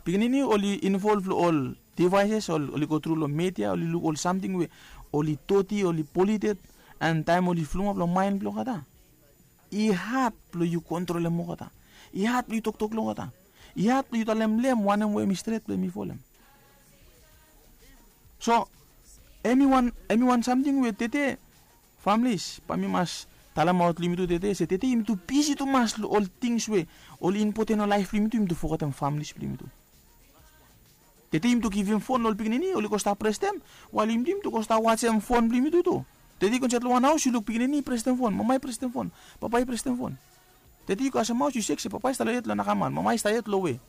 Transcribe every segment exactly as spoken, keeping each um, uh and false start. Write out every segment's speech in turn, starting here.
Pikinini oli involv long ol devices, ol oli go tru long media, oli luk ol samting we oli doti, oli polluted. And taem oli flumap long maen blong olgeta, i had blong yu kontrolem olgeta. I had blong yu toktok long olgeta. I had blong yu talem long hem wanem we hemi stret blong hemi folem. So hemi wan, hemi wan samting we tede, familis, bae mi mas talemaot long yumi tu tede se tede yumi tu bisi tumas long ol tings we oli impoten long laef blong yumi tu, yumi tu fogetem familis blong yumi tu. Tede yumi tu givim fon long ol pikinini, oli go stap prestem, wael yumi tu, yumi tu go stap wajem fon blong yumi tu tu. Tede yu go insaed long wan haos, yu luk pikinini i prestem fon, mama i prestem fon, papa i prestem fon. Tede yu go kasem haos, yu sek se papa i stap long yet long nakamal, mama i stap yet long we.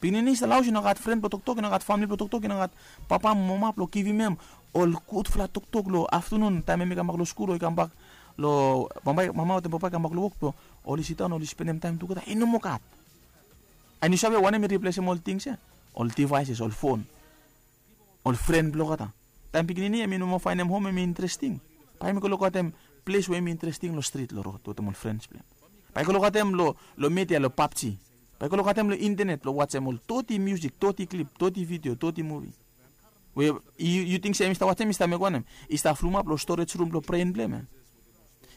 Pikinini i stap long haos, i no gat fren blong toktok, i no gat famili blong toktok, i no gat papa mo mama blong givim hem ol gudfala toktok long aftanun taem hemi kambak long skul o i kambak long, mama wetem papa i kambak long wok blong oli sidaon oli spendem taem tugeta, i no moa gat. And yu save wanem i riplesem ol tings ya? Ol devices, ol fon, ol fren blong olgeta. Taem pikinini hemi no moa faenem hom hemi interesting, bae hemi go lukaotem ples we hemi interesting long strit, long rod wetem ol frens blong hem. Bae i go lukaotem long, long media, long PUBG. Bae i go lukaotem long intenet blong wajem ol doti miusik, doti klip, doti vidio, doti muvi. We yu, yu ting se hemi stap wajem, i stap mekem wanem? I stap flumap long storej rum blong bren blong hem ya.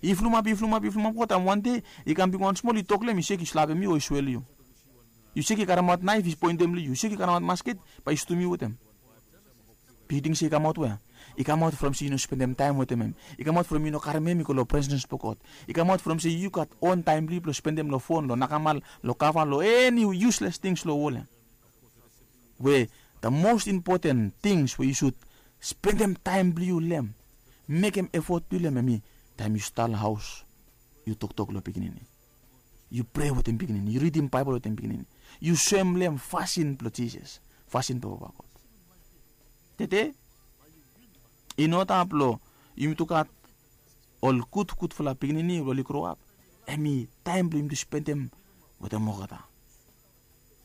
I flumap, i flumap, i flumap, go taem wan dei i kam bigwan smol, i tok long hem, i sek i slapem yu o i swel yu. Yu sek i karemaot naef i poentem long yu, yu sek i karemaot masket bae i stum yu wetem. Be yu ting se i kamaot wea? I kamaot from se yu no spendem taem wetem hem. I kamaot from yu no karem hem i go long presens blong God. I kamaot from se yu gat on taem blong yu blong spendem long fon, long nakamal, long kava, long eni yusles tings long wol ya. We the most important tings we yu sud spendem taem blong yu long hem, mekem efot blong yu long hem, hemi taem yu stap long haos, yu toktok long pikinini, yu prea wetem pikinini, yu ridim Baebol wetem pikinini, yu soem long hem fasin blong Jisas, fasin blong Papa God. Tede i no taem blong yumi tu gat ol gud, gudfala pikinini we oli groap, hemi taem blong yumi tu spendem wetem olgeta.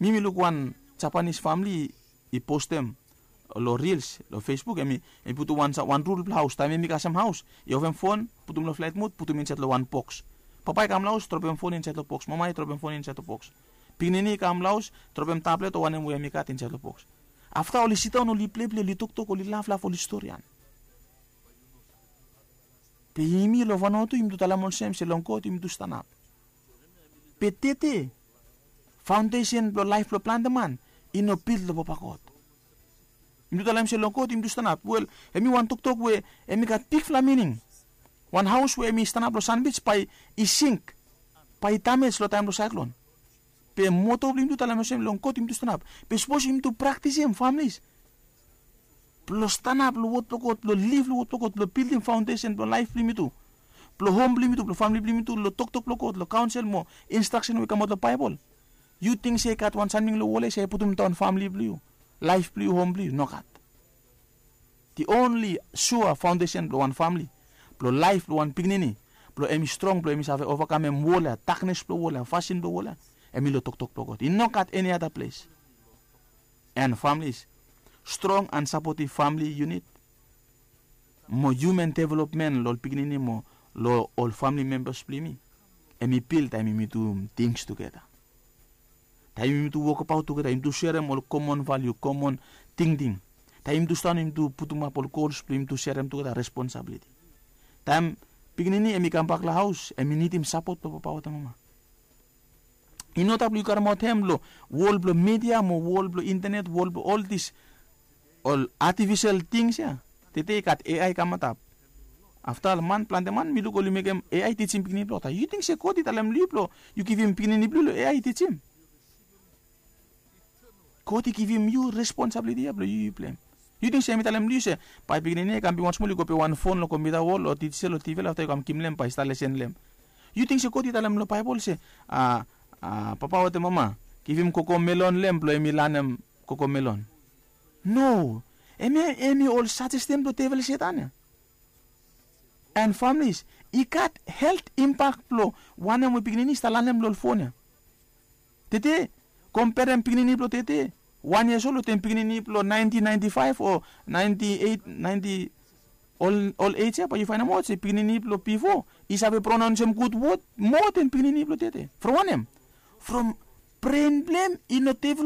Mi mi luk wan Japanis famili i postem long Reels long Facebook, hemi, hemi putum wan, wan rul blong haos, taem hemi kasem haos, i ofem fon, putum long flaet mud, putum insaed long wan boks. Papa i kam long haos, dropem fon insaed long boks, mama i dropem fon insaed long boks. Pikinini i kam long haos, dropem tablet o wanem we hemi gat insaed long boks. Afta oli sidaon, oli pleplei, oli toktok, oli laflaf, oli storian. Be yumi long Vanuatu yumi tu talem olsem se long God yumi tu stanap. Be tede faondesen blong laef blong plante man i no bil long Papa God. Yumi tu talem se long God yumi tu stanap. Wel, hemi wan toktok we hemi gat bigfala mining. Wan haos we hemi stanap long sanbij bae i sink, bae i damej long taem blong saeklon. Be moto blong yumi tu talem olsem long God yumi tu stanap. Be sapos yumi tu praktisim, familis, blong stanap long wod blong God, blong liv long wod blong God, blong bildim faondesen blong laef blong yumi tu, blong hom blong yumi tu, blong famili blong yumi tu, long toktok blong God, long kaonsel mo instraksen we i kamaot long Baebol. Yu ting se i gat wan samting long wol ya se i putum daon famili blong yu, laef blong yu, hom blong yu? Nogat. The only sua faondesen blong wan famili, blong laef blong wan pikinini, blong hemi strong, blong hemi save ovakamem wol ya, daknes blong wol ya, fasin blong wol ya, hemi long toktok blong God. I nogat eni ada ples. And familis, strong and sapotiv famili yunit mo human development long ol pikinini mo long ol famili membas blong yumi, hemi bil taem yumi tu tings tugeta. Taem yumi tu wokbaot tugeta, yumi tu serem ol komon valiu, komon tingting. Taem yumi tu stanap, yumi tu putumap ol gols blong yumi tu serem tugeta, responsabiliti. Taem pikinini hemi kambak long haos, hemi nidim sapot blong papa wetem mama. I no taem blong yu karemaot hem long wol blong media mo wol blong intenet, wol blong ol dis, ol atifisel tings ya. Tede i gat A I i kamantap. Afta man, plante man mi luk oli mekem A I tijim pikinini blong olgeta. Yu ting se God i talem long yu blong yu givim pikinini blong yu long A I i tijim? God i givim yu responsabiliti ya blong yu, yu pleim. Yu ting se mi talem long yu se bae pikinini i kam bigwan smol, i go pet wan fon long kompiuta wol o dijital o T V, afta i kam givim long hem bae i stap lesen long hem? Yu ting se God i talem long Baebol se, a, a, papa wetem mama, givim kokomelon long hem blong hemi lanem kokomelon? No. Hemi, hemi ol sajestan blong devel Setan ya. And familis, i gat helt impak blong wanem we pikinini i stap lanem long ol fon ya. Tede, komperem pikinini blong tede, wan yias ol wetem pikinini blong naentin naenti faef o naenti eit, naenti, ol, ol ej ya, bae yu faenemaot se pikinini blong bifo i save pronaonsem gud wod moa den pikinini blong tede. From wanem? From bren blong hem i no develop